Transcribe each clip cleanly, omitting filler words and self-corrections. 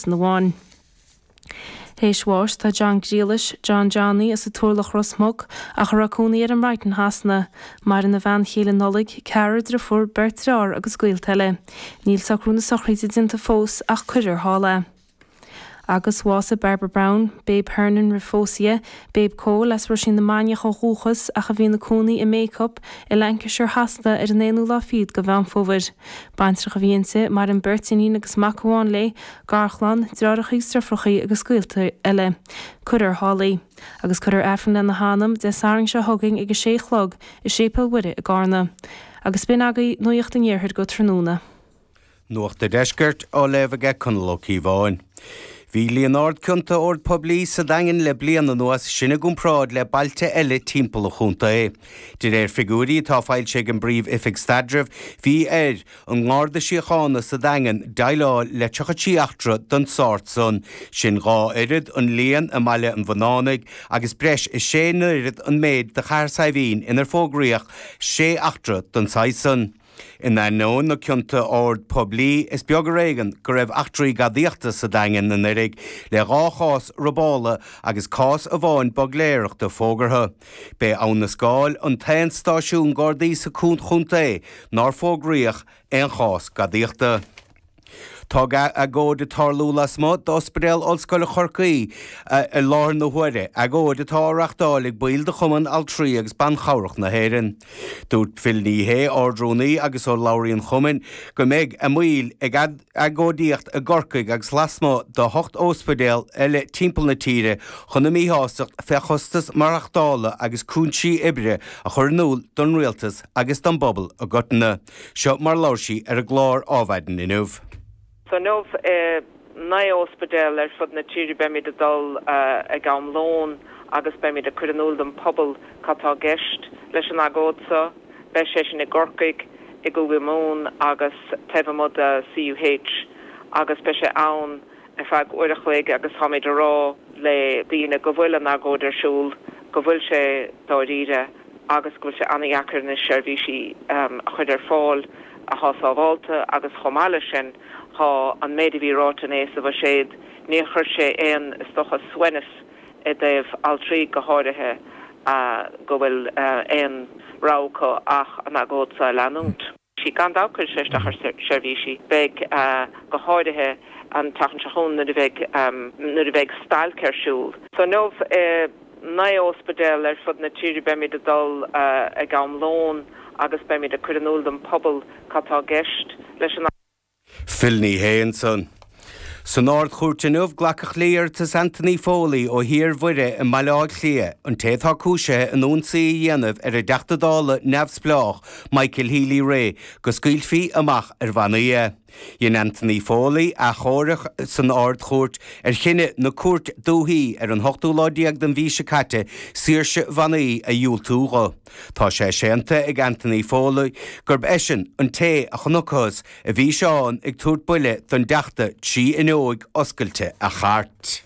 acusan amháin. Théis bháis tá John Ghriallais, John Johnny, as an Turlach Ros Muc, ach a raibh cónaí air i mBrighton Shasana. Maireann a bhean chéile Nollaig, ceathrar driofúr, beirt dreáthar agus gaolta eile. Níl socrú na sochraide déanta fós ach cuirfear thall é. Agus bhásaigh Barbara Brown, Babe Hernon roimh phósadh di, Babe Cole as Ruisín na Mainiach ó dhúchas ach a bhí ina cónaí i mBacup i Lancashire Shasana ar an aonú lá fichead de Mheán Fómhair. Baintreach a bhí inti, maireann beirt iníon agus mac amháin léi, garchlann, deartháireacha agus deirfiúracha agus gaolta eile. Cuirfear thall í. Agus cuirfear Aifreann lena hanam, Dé Sathairn seo chugainn ag a sé a chlog i Séipéal Mhuire i gCarna. Agus b'in agaibh Nuacht an Iarthair go tráthnóna. Nuacht a' Deiscirt á léamh aige Conall Ó Cíobháin. Bhí líon ard cionta ord poiblí sa Daingean le bliain anuas, sin i gcomparáid le bailte eile timpeall an chontae. De réir figiúirí atá foilsithe ag an bPríomh-Oifig Staidrimh, bhí ar an nGarda Síochána sa Daingean déileáil le 33 eachtra den sórt san, sin 2 oiread an líon i mBaile an Bhunánaigh agus breis is sé n-oiread an méid do Chathair Saidhbhín inar fógraíodh 6 eachtra den saghas san. In ainneoin na cionta ord poiblí, is beag ar éigean go raibh eachtraí gadaíochta sa Daingean anuraidh, le 2 chás robála agus cás amháin buigléireachta fógartha. B'é Abhainn na Scáil an t-aon stáisiún Gardaí sa chontae nár fógraíodh aon chás gadaíochta. Tá agóid ag tarlú lasmuigh d'Ospidéal Ollscoile Chorcaí i láthair na huaire, agóid atá á reachtáil ag baill de Chumann Altraí agus Ban Chabhrach na hÉireann. Dúirt Phil Ní Sheaghdha, Ard-Rúnaí agus urlabhraí an chumainn, go mbeidh a mbaill ag agóidíocht i gCorcaigh agus lasmuigh de hocht óspidéal eile timpeall na tíre chun a míshástacht fé chostas maireachtála agus cúinsí oibre a chur in iúl don rialtas agus don bpobal i gcoitinne. Seo mar labhair sí ar an gclár Ádhmhaidin inniu. So inniu i naoi óspidéal ar fud na tíre beimid ag dul ag am lóin agus beimid ag cur in iúl don pobal cad tá i gceist leis an agóid seo. Beidh sé sin i gCorcaigh, i gCúige Mumhan agus taobh amuigh de CUH agus beidh sé ann ar feadh uair a chloig agus táimid a rá le daoine go bhfuil an agóid ar siúl, go bhfuil sé dáiríre agus go bhfuil sé an-dheacair anois seirbhísí a chur ar fáil athá sábhálta agus chomh maith leis sin thá an méid a bhí ráite inné sa bhuiséad, níor chuir sé aon, is dócha, suaimhneas i dtaobh altraí go háirithe go bhfuil aon rogha acu ach an agóid seo a leanúint. Gan dabht cuirfidh sé isteach ar seirbhísí. Beidh, go háirithe an tseachtain seo chugainn nuair a bheidh, nuair a bheidh stailc ar siúl. So inniu i naoi óspidéal ar fud na tíre beimid ag dul ag am lóin agus beimid ag cur in iúl don pobal cad tá i gceist leis an. Phil Ní Sheaghdha ansan. San Ard-Chúirt inniu, glacadh le hiarratas Anthony Foley ó Thír Mhuire i mBaile Átha Cliath, an té atá cúisithe in ionsaí a dhéanamh ar an dTeachta Dála neamhspleách Michael Healy-Rae, go scaoilfí amach ar bhannaí é. Dhein Anthony Foley achomharc san Ard-Chúirt ar chinneadh na Cúirte Dúichí ar an hochtú lá déag den mhí seo caite saoirse bhannaí a dhiúltú dho. Tá sé séanta ag Anthony Foley gurb eisean an té a chonacthas a bhí Seán ag tabhairt buille don dTeachta trí fhuinneoig oscailte a chairt.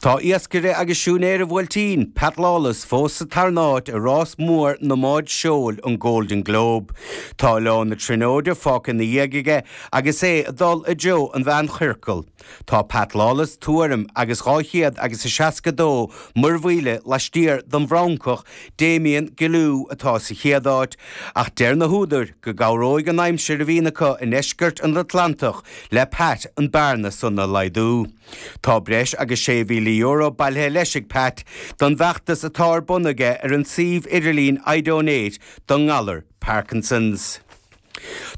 Tá iascaire agus siúinéir an Bhuailtín, Pat Lawless, fós sa tarna háit i rás mór na mbád seoil, an Golden Globe. Tá Oileán na Tríonóide fágtha ina dhiaidh aige agus é ag dul i dtreo an mheánchiorcail. Tá Pat Lawless tuairim agus 200 agus a 62 muirmhíle laistiar den bhFrancach Damien Guillou atá sa chéad áit, ach deir na húdair go gcabhróidh an aimsir a bhíonn acu i ndeisceart an Atlantach le Pat an bearna san a laghdú. Tá breis agus €6,000 bailithe leis ag Pat don bhfeachtas atá ar bun aige ar an suíomh idirlín iDonate don ngalar Parkinson's.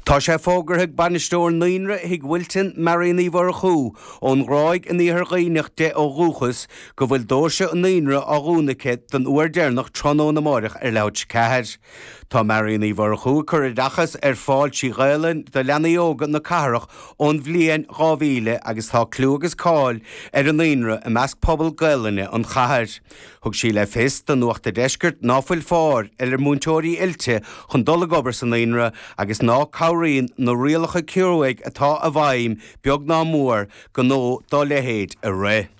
Tá sé fógartha ag bainisteoir Naíonra Thigh Mhilton, Marion Uí Mhurchú, ón nGráig in Iarthar Dhuibhneach di ó dhúchas, go bhfuil doirse an naíonra á dhúnadh aici don uair deireanach tráthnóna amáireach ar leathuair tar éis a 4. Tá Marion Uí Mhurchú ag cur oideachas ar fáil trí Ghaelainn do leanaí óga na cathrach ón bhliain 2000 agus tá clú agus cáil ar an naíonra i measc pobal Gaelainne an chathair. Thug sí le fios do Nuacht a' Deiscirt ná fuil fáil ar mhúinteoirí oilte chun dul ag obair sa naíonra agus ná cabhraíonn na rialacha cruaidh atá i bhfeidhm beag ná mór gnó dá leithéid a rith.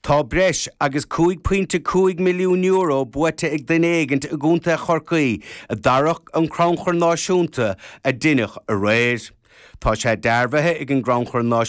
Tá breis agus €5.5 milliún buaite ag duine éigint i gContae Chorcaí i dtarrac an Chrannchuir Náisiúnta a deineadh aréir. Tá sé dearbhaithe ag an gCrannchur Náisiúnta.